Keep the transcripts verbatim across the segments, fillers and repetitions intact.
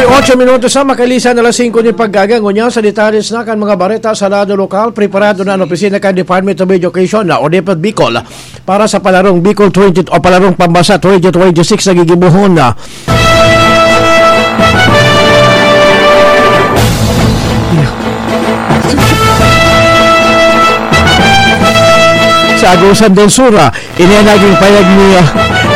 Ocho minutos na makalisan alas singko nin pagkaaga. Ngunyan sa detalye na kan mga bareta sa lado lokal, preparado na an opisina kan Department of Education na o DepEd Bicol para sa palarong Bicol twenty o palarong pambasa twenty twenty-six na gigibohon na. Sa Agusan del Sur, ah, ini ang naging payag ni, ah,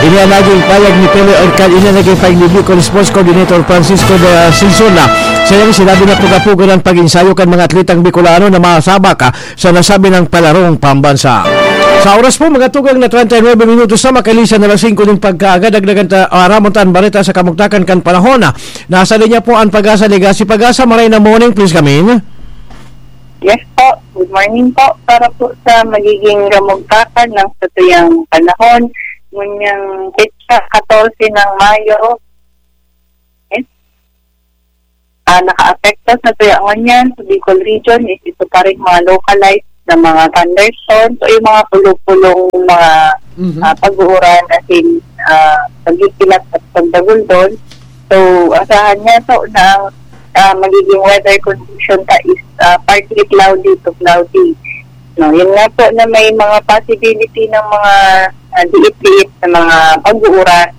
ini ang naging payag ni Pele Orcal, ini ang naging payag ni Bicol Sports Coordinator Francisco de Ascension. Sa iyang sinabi na puga-puga ng pag-ensayo kan mga atletang Bicolano na masabak, ah, sa nasabi ng palarong pambansa. Sa oras po, mga tugang na treinta y nueve minutos na makalisan alas singko nin pagkaaga, dagdagan ta, ah, aramon ta an bareta sa kamugtakan kan panahon. Nasa linya po an Pag-asa Legacy. Pag-asa, maray na morning, please come in. Yes po, good morning po. Para po sa magiging kamugtakan ng satuyang panahon, ngunyang petsa katorse ng Mayo, eh, ah, nakaapekto sa tuya ngunyan sa Bicol Region is ito pa rin mga localized na mga thunderstorms o yung mga pulo-pulong mga, Mhm. ah, pag-uuran as in, ah, pagkikilat at pagdaguldol. So, asahan niya to na ang, ah, magiging weather condition ta is, ah, partly cloudy to cloudy. No, yun nga po na may mga possibility ng mga, ah, diit-diit na mga pag-uuran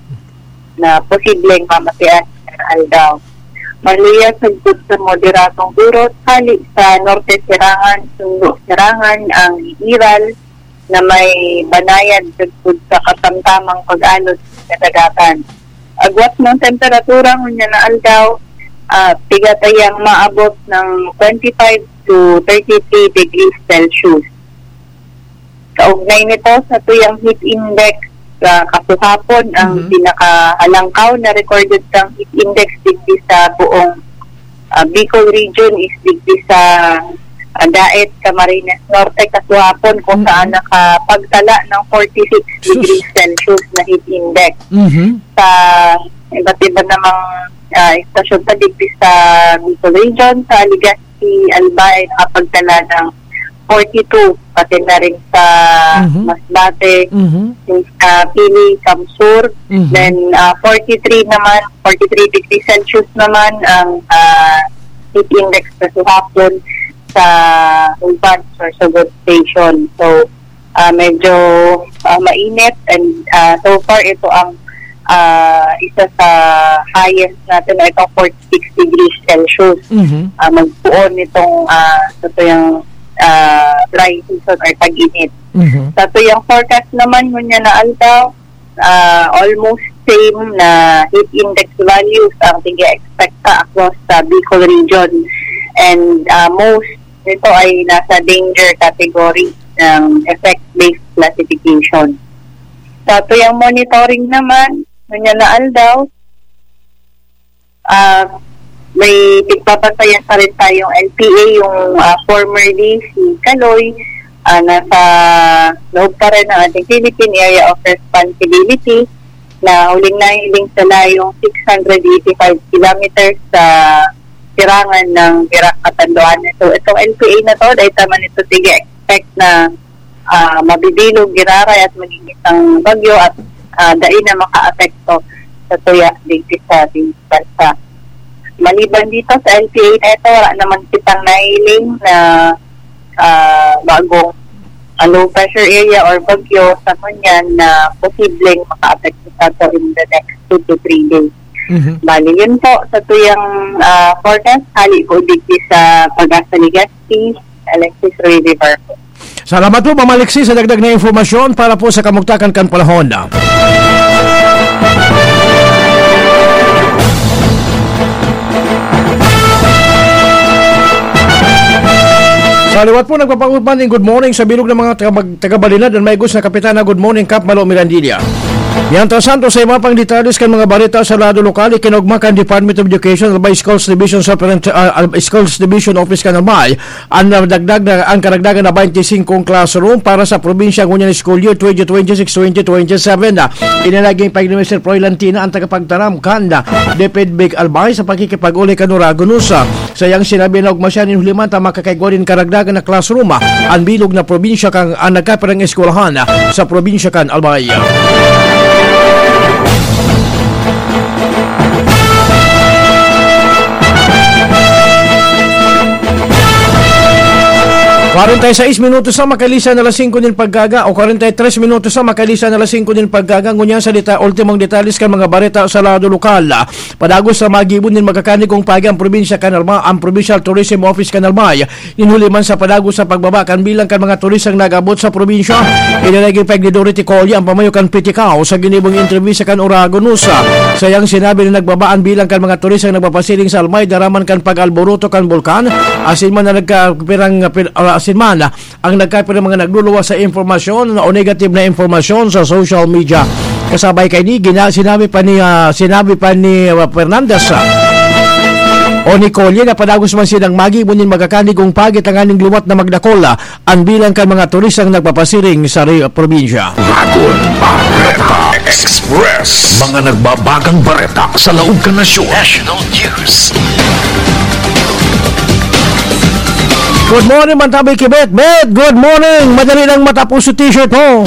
na posibleng mamatian sa aldaw. Maluyas sagkod sa moderadong durot, hali sa norte sirangan, sundo sirangan ang iral na may banayad sagkod sa kasamtamang pag-alon sa kadagatan. Agwat ng temperatura ngunyan na aldaw, ah, pigatayang maabot ng twenty-five to thirty-three degrees Celsius. Kaugnay nito sa tuyang heat index, sa kasuhapon, ang Mhm. pinakahalangkaw na recorded kang heat index digdi sa buong, ah, Bicol region is digdi sa, ah, Daet, Camarines Norte, kasuhapon, kung Mhm. saan nakapagtala ng forty-six Sus. degrees Celsius na heat index. Mhm. Sa iba't iba namang, ah, istasyon pa digdi sa Bicol region, sa Legazpi, Albay, nakapagtala ng forty-two, pati na rin sa Mhm. Masbate, Mhm. sa Pili, Camsur. Mhm. Then, ah, forty-three naman, forty-three degrees Celsius naman ang, ah, heat index sa suhapon sa Uban, Sorsogon Station. So, ah, medyo, ah, mainit and, ah, so far ito ang, ah, isa sa highest natin na itong forty-six degrees Celsius. Mhm. Ah, magpuon nitong, ah, sa tuyang, ah, dry season or tag-init. Mhm. Sa tuyang forecast naman, ngunyan na aldaw, ah, almost same na heat index values ang tig-expect ta across sa Bicol region. And, ah, most nito ay nasa danger category ng effect-based classification. Sa tuyang monitoring naman, ngunyan na aldaw, ah, may pigpapasayan pa rin tayong L P A, yung, ah, formerly si Kaloy, ah, nasa loob pa rin ng ating Philippine Area of Responsibility na huling nahiling sa layong six hundred eighty-five kilometers sa sirangan ng Virac, Catanduanes. So, itong L P A na to, dahil tama nito, sige, expect na, ah, mabibilog, giraray at maging isang bagyo at, ah, dai na makaapekto sa tuya digdi sa ating bansa. Maliban dito sa L P A na ito, wala naman kitang nahiling na, ah, bagong, ah, low pressure area or bagyo sa ngunyan na posibleng makaapekto sa ato in the next two to three days. Mhm. Bali, yun po sa tuyang, ah, forecast. Hali po digdi sa Pag-asa Legazpi, Alexis Ruiz Barco. Salamat po, Ma'am Alexis, sa dagdag na impormasyon para po sa kamugtakan kan panahon. Sa liwat po, nagpapagod man in good morning sa bilog ng mga taga-, taga-Balinad, ang maigos na Kapitana. Good morning, Kap Malo Mirandilla. Mientras tanto, sa iba pang detalles kan mga bareta sa lado lokal, ikinaugma kan Department of Education, Albay Schools Division Superint-, ah, Al-, Schools Division Office kan Albay, ang nadagdag na, ang karagdagan na twenty-five classroom para sa probinsya ngunyan school year twenty twenty-six twenty twenty-seven. Ini naging pahayag ni Mister Froilan Tina, ang tagapagtaram kan DepEd Bec Albay, sa pakikipag-uli kan Oragon News. Sa iyang sinabi na ugma siya nin huliman ta makakaigwa nin karagdagan na classroom, ah, an bilog na probinsya kan, ah, nagkapirang eskwelahan, ah, sa probinsya kan Albay. Kwarenta y seis minutos na makalisan na alas singko nin pagkaga, o kwarenta y tres minutos na makalisan na alas singko nin pagkaga. Ngunyan sa deta-, ultimong detalles kan mga bareta sa lado lokal. Padagos sa magibo nin magkakanigong paagi ang probinsya kan Albay, ang Provincial Tourism Office kan Albay. Nin huli man sa padagos sa pagbaba kan bilang kan mga turistang nag-abot sa probinsya, inalagipeg ni Dorothy Colli, ang pamayo kan Pitikao, sa ginibong entrevista kan Oragon News. Sa iyang sinabi na nagbaba an bilang kan mga turistang nagpapasiring sa Albay, daraman kan pag-alboroto kan bulkan, asin man na nagkapirang, pir-, ah, asin man ang nagkapirang mga nagluluwas sa impormasyon o negative na impormasyon sa social media. Kasabay kaini, gina-, sinabi pa ni, ah, sinabi pa ni, ah, Fernandez, ah, o ni Colli na padagos man silang magibo nin magkakanigong paagi tanganing liwat na magdakol, ah, an bilang kan mga turistang nagpapasiring sa re-, probinsya. Bagong Bareta Express. Mga nagbabagang bareta sa laog kan nasyon. National News. Good morning, Mantabay Kibet. Bet, good morning. Madali lang matapos sa t-shirt mo.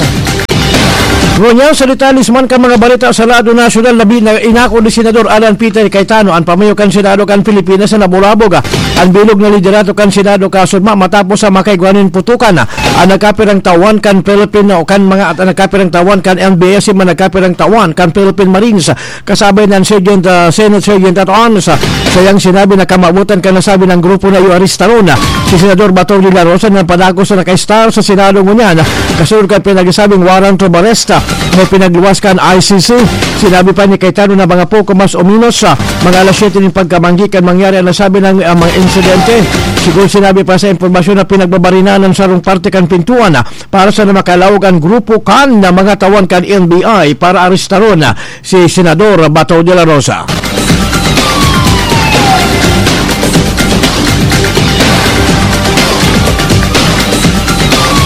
Ngunyan sa detalles man kan mga bareta sa lado nasyonal, labi na inako ni Senador Alan Peter Cayetano, an pamayo kan Senado kan Pilipinas, na nabulabog, ah, an bilog na liderato kan Senado kasugma matapos sa makaigwa nin putukan, ah, an nagkapirang tawan kan Philippine, o kan mga, an nagkapirang tawan kan N B S, man nagkapirang tawan kan Philippine Marines. Kasabay ng Sergeant, ah, Senate Sergeant at Arms, ah, sa iyang sinabi na kamawotan kan nasabi ng grupo na iyo aristaron, ah, si Senador Bato de la Rosa na padagos na naka-stay sa Senado ngunyan, ah, kasunod kan pinagsabing warrant of arrest, ah, na pinagluwas kan I C C. Sinabi pa ni Cayetano na mga poko mas o menos, ah, mga alas siyete nin pagkamanggi kan mangyari ang nasabi ng, ah, mga insidente. Siguro sinabi pa sa impormasyon na pinagbabarinahan ng sarong parte kan pintuan, ah, para sa na makalaog an grupo kan na mga tawan kan N B I para aristaron, ah, si Senador Bato de la Rosa.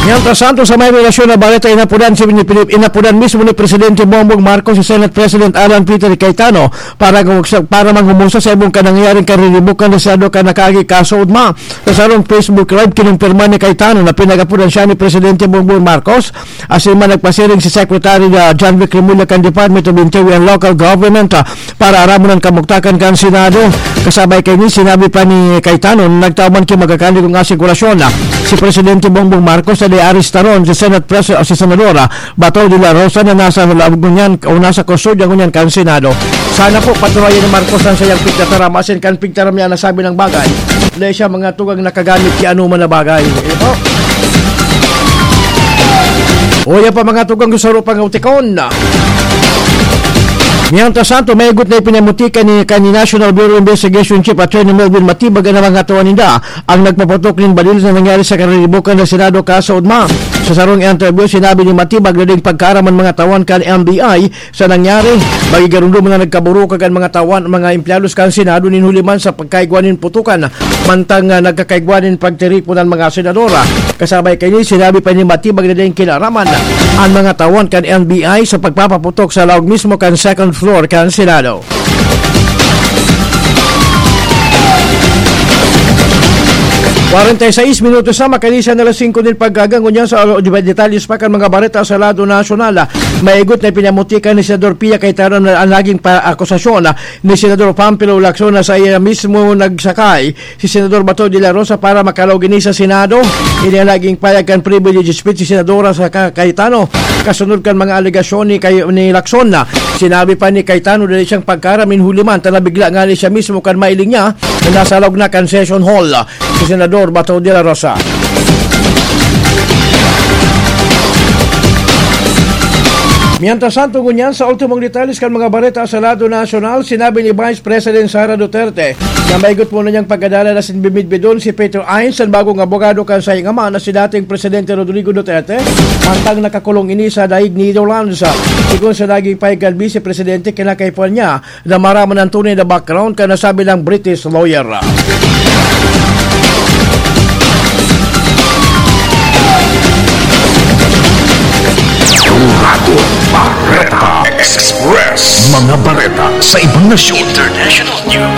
Mientras tanto, sa may relasyon na bareta, inapudan si, ni Pilip-, inapudan mismo ni Presidente Bongbong Marcos si Senate President Alan Peter Cayetano para, para mangumusta sa ibong kanangyaring kariribukan na Senado kan nakaagi kaso ugma. Sa sarong Facebook Live, kinumpirma ni Cayetano na pinag-apudan siya ni Presidente Bongbong Marcos. Asin man nagpasiring si Secretary, ah, John Vic Remulla kan Department of Interior and Local Government, ah, para aramon an kamugtakan kan Senado. Kasabay kaini, sinabi pa ni Cayetano na nagtao man ki magkakanigong asigurasyon, ah, si Presidente Bongbong Marcos na di aristaron si Senate Pres-, o si Senadora Bato de la Rosa na nasa loob ngunyan o nasa kustodya ngunyan kan Senado. Sana po paturayan ni Marcos ang sayang pigtataram asin kan pigtaram niya nasabi ng bagay. Dahil siya mga tugang nakagamit ki ano man na bagay. Iyo po. O, yan pa mga tugang gusto ro pang utikon. Mientras tanto, may igot na ipinamuti kan ni, kan ni National Bureau Investigation Chief Attorney Melvin Matibag na mga tuwa ninda ang nagpaputok nin balil na nangyari sa kariribukan na Senado kaso ugma. Sa sarong interview, sinabi ni Matibag na ding pagkaaraman mga tawan kan N B I sa nangyari, magigarundom na nagkaburukan kan mga tawan, mga empleados kan Senado nin huli man sa pagkaigwa nin putukan, mantang, ah, nagkakaigwa nin pagtiripon an mga senadora. Kasabay kaini, sinabi pa ni Matibag na ding kinaraman an mga tawan kan N B I sa pagpapaputok sa laog mismo kan second floor kan Senado. Kwarenta y seis minutos na makalisan na alas singko nin pagkaga. Ngunyan sa, ah, detalles pa kan mga bareta sa lado nasyonal. Maigot na pinamutikan ni Senador Pia Cayetano na ang naging pa-, akusasyon, ah, ni Senador Panfilo Lacson na sa iya mismo nagsakay si Senador Bato de la Rosa para makalaog ini sa Senado. Ini ang naging payag kan privilege speech si Senadora sa Ka-, Cayetano kasunod kan mga alegasyon ni Cay-, ni Lacson. Sinabi pa ni Cayetano dali siyang pagkaram nin huli man ta nabigla ngani siya mismo kan mailing niya na nasa laog na kan session hall si Senador Bato de la Rosa. Mientras tanto, ngunyan, sa ultimong detalles kan mga bareta sa lado nasyonal, sinabi ni Vice President Sara Duterte na maigot muna niyang pagkadalan asin bimidbidon si Peter Ains, an bagong abogado kan saiyang ama na si dating Presidente Rodrigo Duterte, mantang nakakulong ini sa daig Netherlands. Sigon sa naging pahayag kan Vice Presidente, kinakaipuhan niya na maraman ang tunay na background kan nasabing British lawyer. Bagong Bareta Express. Mga bareta sa ibang nasyon. International News.